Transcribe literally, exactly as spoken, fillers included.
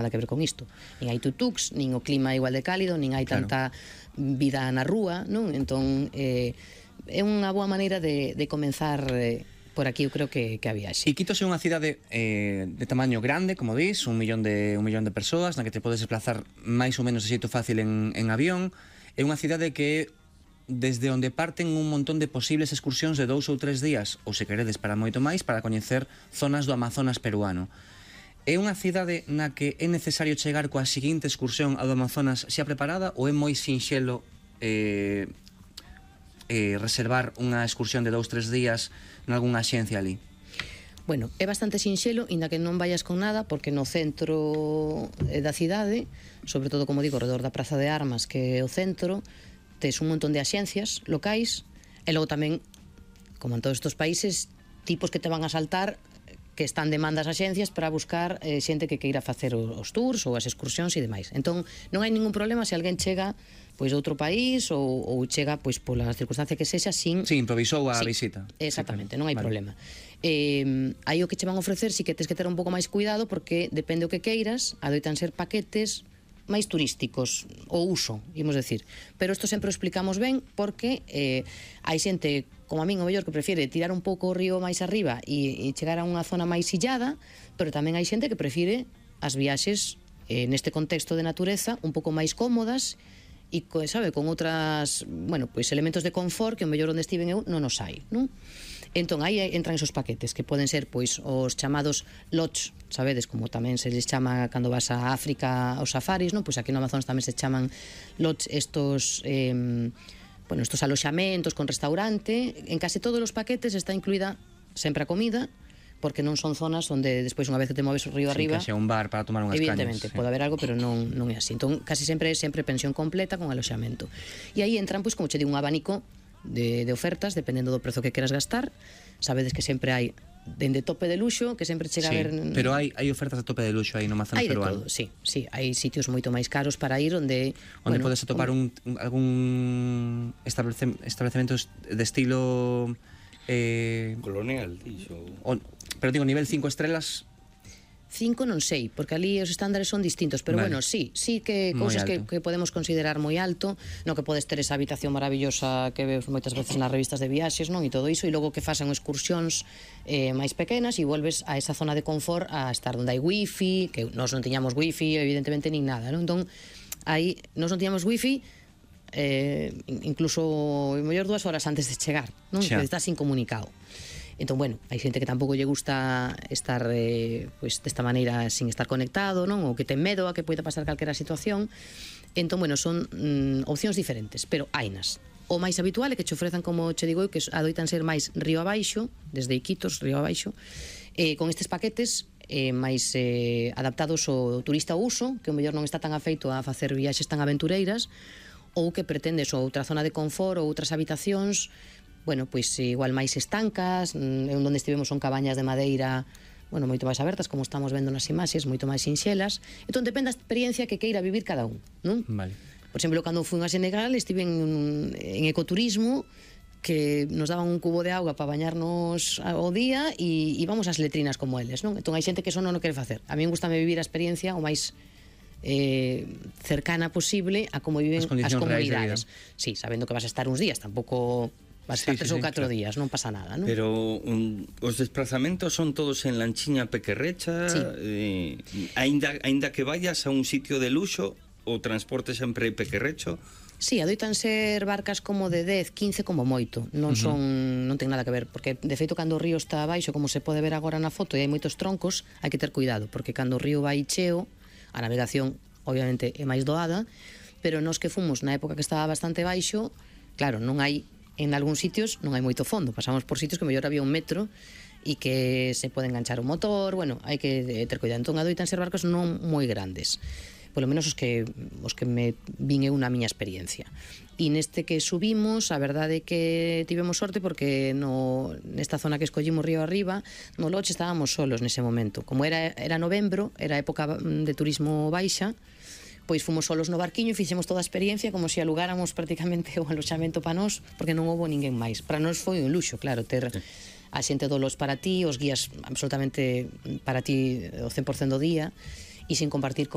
nada que ver con isto. Nin hai tutuks, nin o clima é igual de cálido, nin hai Claro. tanta vida na rúa, non? Entón, eh, é unha boa maneira de, de comenzar eh, por aquí, eu creo que, que a viaxe. E Quito é unha cidade eh, de tamaño grande, como dis, un millón de un millón de persoas, na que te podes desplazar máis ou menos de xeito fácil en, en avión. É unha cidade que desde onde parten un montón de posibles excursións de dous ou tres días, ou se queredes para moito máis, para coñecer zonas do Amazonas peruano. É unha cidade na que é necesario chegar coa seguinte excursión ao Amazonas xa preparada, ou é moi sinxelo eh, eh, reservar unha excursión de dous, tres días nalgúnha axencia ali? Bueno, é bastante sinxelo, inda que non vayas con nada, porque no centro da cidade, sobre todo, como digo, alrededor da Praza de Armas, que é o centro, tes un montón de axencias locais, e logo tamén, como en todos estes países, tipos que te van a saltar que están demandas axencias para buscar eh, xente que queira facer os tours ou as excursións e demais. Entón, non hai ningún problema se alguén chega pois de outro país ou, ou chega pois pola circunstancia que sexa sin... Sí, improvisou a sí, visita. Exactamente, sí, claro. non hai Vale. problema. Eh, aí o que che van a ofrecer si que tens que ter un pouco máis cuidado porque depende o que queiras, adoitan ser paquetes máis turísticos, o uso, imos decir. Pero isto sempre o explicamos ben porque eh, hai xente, como a min, o mellor, que prefiere tirar un pouco o río máis arriba e, e chegar a unha zona máis illada, pero tamén hai xente que prefire as viaxes eh, neste contexto de natureza un pouco máis cómodas e, sabe, con outras, bueno, pois elementos de confort que o mellor onde estiven eu non os hai, non? Entón, aí entran esos paquetes que poden ser, pois, os chamados lodge, sabedes, como tamén se les chama cando vas a África aos safaris, non? Pois aquí no Amazonas tamén se chaman lodge estos, eh, bueno, estos aloxamentos con restaurante. En case todos os paquetes está incluída sempre a comida, porque non son zonas onde despois unha vez que te moves o río Sí, arriba, que xa un bar para tomar unhas cañas. evidentemente, Sí. pode haber algo, pero non, non é así. Entón, casi sempre é sempre pensión completa con aloxamento. E aí entran, pois, como che digo, un abanico de, de ofertas, dependendo do prezo que queras gastar. Sabedes que sempre hai dende tope de luxo, que sempre chega Sí, a ver... pero hai, hai ofertas de tope de luxo aí no Amazonas hai de peruano. todo, sí, sí, hai sitios moito máis caros para ir onde... Onde bueno, podes atopar un, un, algún establece, establecementos de estilo... Eh, Colonial, dixo. o, pero digo, nivel cinco estrelas... Cinco non sei, porque ali os estándares son distintos, pero Vale. bueno, sí, sí que Moi cousas que, alto. que podemos considerar moi alto, no que podes ter esa habitación maravillosa que ves moitas veces nas revistas de viaxes, non? E todo iso, e logo que fasan excursións eh, máis pequenas e volves a esa zona de confort a estar onde hai wifi, que nós non tiñamos wifi, evidentemente, nin nada, non? Entón, aí, nós non tiñamos wifi, eh, incluso o mellor dúas horas antes de chegar, non? Xa. Que estás incomunicado. Entón, bueno, hai xente que tampouco lle gusta estar eh, pois, desta maneira sin estar conectado, non? Ou que ten medo a que poida pasar calquera situación. Entón, bueno, son mm, opcións diferentes, pero hainas. O máis habitual é que che ofrezan, como che digo, que adoitan ser máis río abaixo, desde Iquitos, río abaixo, eh, con estes paquetes eh, máis eh, adaptados ao turista ao uso, que o mellor non está tan afeito a facer viaxes tan aventureiras, ou que pretendes outra zona de confort ou outras habitacións, bueno, pois igual máis estancas, en onde estivemos son cabañas de madeira, bueno, moito máis abertas, como estamos vendo nas imaxes, moito máis sinxelas. Entón, depende da experiencia que queira vivir cada un, non? Vale. Por exemplo, cando fui a Senegal, estive en, en ecoturismo, que nos daban un cubo de auga para bañarnos ao día e íbamos ás letrinas como eles, non? Entón, hai xente que eso non o quere facer. A mí me gusta vivir a experiencia o máis eh, cercana posible a como viven As as, condicións reais de comunidades. Sí, sabendo que vas a estar uns días, tampouco vas a estar Sí, sí, tres ou sí, catro claro. días, non pasa nada, non? Pero um, os desplazamentos son todos en lanchiña pequerrecha, Sí. eh, aínda, aínda que vayas a un sitio de luxo, o transporte sempre é pequerrecho. Sí, adoitan ser barcas como de dez, quince como moito. Non son, non ten nada que ver, porque de feito cando o río está abaixo, como se pode ver agora na foto, e hai moitos troncos, hai que ter cuidado, porque cando o río vai cheo, a navegación obviamente é máis doada, pero nos que fomos na época que estaba bastante baixo, claro, non hai, en algúns sitios non hai moito fondo, pasamos por sitios que mellor había un metro e que se pode enganchar o motor, bueno, hai que ter cuidado. Entón adoitan ser barcos non moi grandes, polo menos os que os que me vin eu na miña experiencia. E neste que subimos, a verdade é que tivemos sorte porque no nesta zona que escollimos río arriba, no Loche estábamos solos nese momento. Como era era novembro, era época de turismo baixa, pois fomos solos no barquiño e fixemos toda a experiencia como se alugáramos prácticamente o aloxamento para nós, porque non houbo ninguén máis. Para nós foi un luxo, claro, ter a xente dolos para ti, os guías absolutamente para ti o cen por cento do día, e sin compartir con